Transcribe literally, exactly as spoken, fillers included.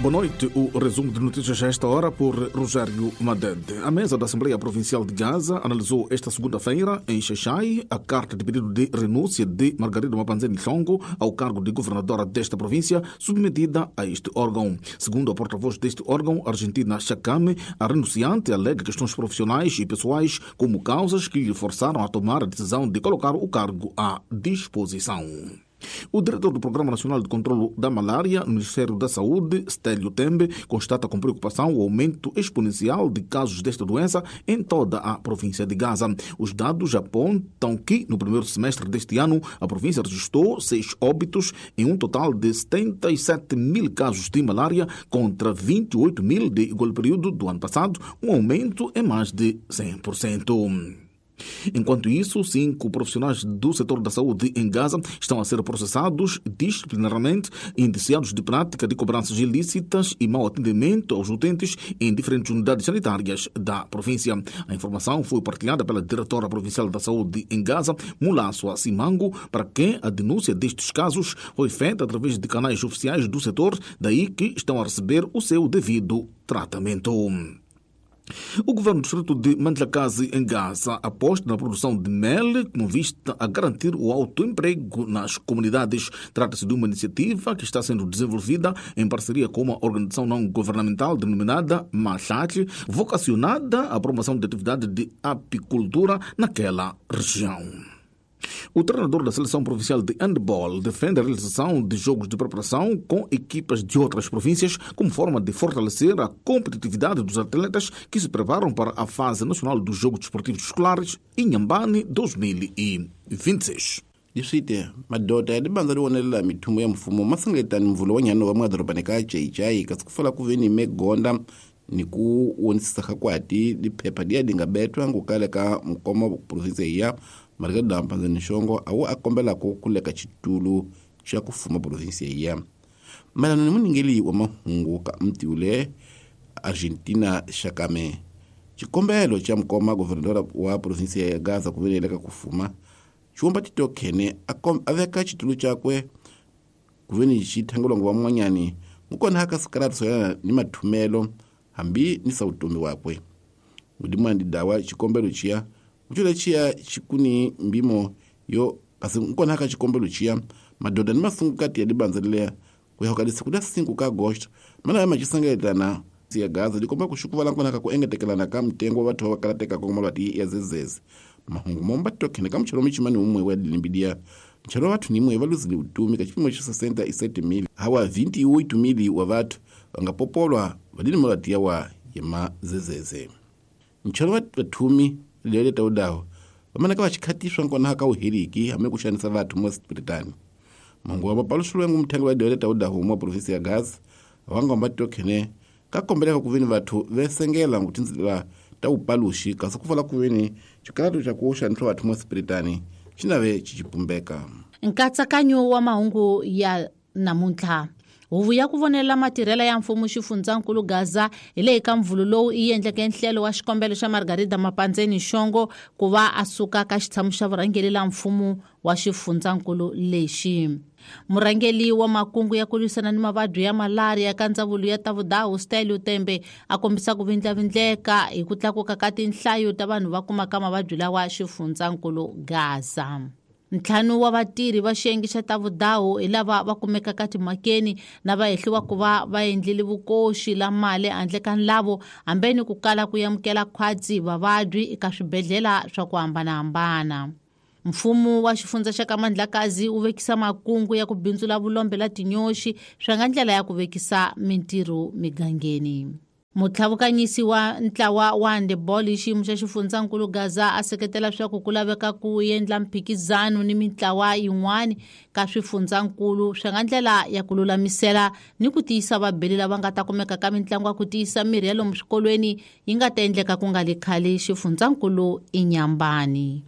Boa noite. O resumo de notícias a esta hora por Rogério Madede. A mesa da Assembleia Provincial de Gaza analisou esta segunda-feira, em Xaixai, a carta de pedido de renúncia de Margarida Mapanzeni Chongo ao cargo de governadora desta província, submetida a este órgão. Segundo a porta-voz deste órgão, Argentina Chacame, a renunciante alega questões profissionais e pessoais como causas que lhe forçaram a tomar a decisão de colocar o cargo à disposição. O diretor do Programa Nacional de Controlo da Malária, no Ministério da Saúde, Stélio Tembe, constata com preocupação o aumento exponencial de casos desta doença em toda a província de Gaza. Os dados apontam que, no primeiro semestre deste ano, a província registrou seis óbitos em um total de setenta e sete mil casos de malária contra vinte e oito mil de igual período do ano passado, um aumento em mais de cem por cento. Enquanto isso, cinco profissionais do setor da saúde em Gaza estão a ser processados disciplinarmente, indiciados de prática de cobranças ilícitas e mau atendimento aos utentes em diferentes unidades sanitárias da província. A informação foi partilhada pela diretora provincial da saúde em Gaza, Mulassua Simango, para quem a denúncia destes casos foi feita através de canais oficiais do setor, daí que estão a receber o seu devido tratamento. O governo do distrito de Mandlakazi, em Gaza, aposta na produção de mel com vista a garantir o autoemprego nas comunidades. Trata-se de uma iniciativa que está sendo desenvolvida em parceria com uma organização não governamental denominada Machate, vocacionada à promoção de atividade de apicultura naquela região. O treinador da Seleção Provincial de Handball defende a realização de jogos de preparação com equipas de outras províncias como forma de fortalecer a competitividade dos atletas que se preparam para a fase nacional dos Jogos Desportivos Escolares Inhambane dois mil e vinte e seis. Leswi madoda ya libanza ri wonelela mithumo ya mfumo ma sengetani mvula wa nyano wa madorobani ka Jai kasi ku fala ku ve ni megonda ni ku wonisisa ka kwati liphepha liya li nga betwa ngukale ka mukoma province ya Margarida Mapanzeni Shongo awu a kombelako ku leka xitulu xa ku fuma province ya mayelana ni muningeli wa mahungu ka mtiule Argentina Chacame. Xikombelo xa mukoma governadora wa province ya Gaza ku veleleka ku fuma xiwomba titokhene a veka xitulu xakwe ku veni xi thangolongo wa n'wanyani mukona haka sikarati soyana ni mathumelo hambi ni sautomi wakwe mudimwandi dawa xikombelo xiya kucula xiya xikuni mbimo yo kasi nkona haka xikombelo xiya madoda ni masungukati ya libanza leya ku ya hokalisa ku da cinco ka agosto mana ya maxisangeletana ya Gaza likomba ku xukuvala nkona ka ku engetekelana ka mtengo wa vathu va kalateka ku malwati ya zezeze mahungu momba tokhene ka mchelo michimani umwe wa limbidia mchelo vathu nimwe va luzile utumi ka xipimo xa sessenta e sete mil hawa vinte e oito mil wa vathu va nga popolwa vadini malwati ya wa ya mazezeze mchelo wa vathumi lele tawudawo vamanaka va xikhatiswa nkona ka uheriki hambi ku xanisa vathu mo Britani mahungu wa mapaluxilwengu muthengi wa lele tawudawo mo province ya Gaza va nga mba tokhene ka kombeleka ku veni vathu vesengela nguthinzela ta upaluxi kasi ku fala ku veni xikalato xa ku xanisa vathu mo Britani xi nave xi xipumbeka. Nkatsakanyo wa mahungu ya namuntlha. Huvo ya ku vonela matirhelo ya mfumo xifundzankulu Gaza hi leyi ka mvulu lowu yi endleke nhlelo wa xikombelo xa Margarida Mapanzeni Shongo ku va a suka ka xitshamo xa vurhangeri la mfumo wa xifundzankulu lexi. Murhangeri wa makungu ya ku lwisana ni mavabyi ya malaria ka ndzawulo ya ta vudawu Stélio Tembe a kombisa ku vindlavindleka hi ku tlakuka ka tinhlayo ta vanhu va kumaka mavabyi lawa xifundzankulu Gaza. Ntlhanu wa vatirhi va xiyenge xa ta vudawu hi lava va kumekaka timhakeni na va hehliwa ku va va endlile vukoxi la mali handle ka nlavo hambeni ku kala ku amukela khwatsi vavabyi eka swibedhlele swa ku hambanahambana. Mfumo wa xifundza xa ka Mandlakazi wu vekisa makungu ya ku bindzula vulombe la tinyoxi swa nga ndlela ya ku vekisa mintirho migangeni. Mutlhavukanyisi wa ntlawa wa handball hi xiyimo xa xifundzankulu Gaza a seketela swa ku ku laveka ku endla mphikizano ni mintlawa yin'wani ka swifundzankulu swa nga ndlela ya ku lulamisela ni ku tiyisa vabeli lava nga ta kumeka ka mitlangu ya ku tiyisa mirhi ya lomu swikolweni yi nga ta endleka ku nga le khale xifundzankulu Inhambane.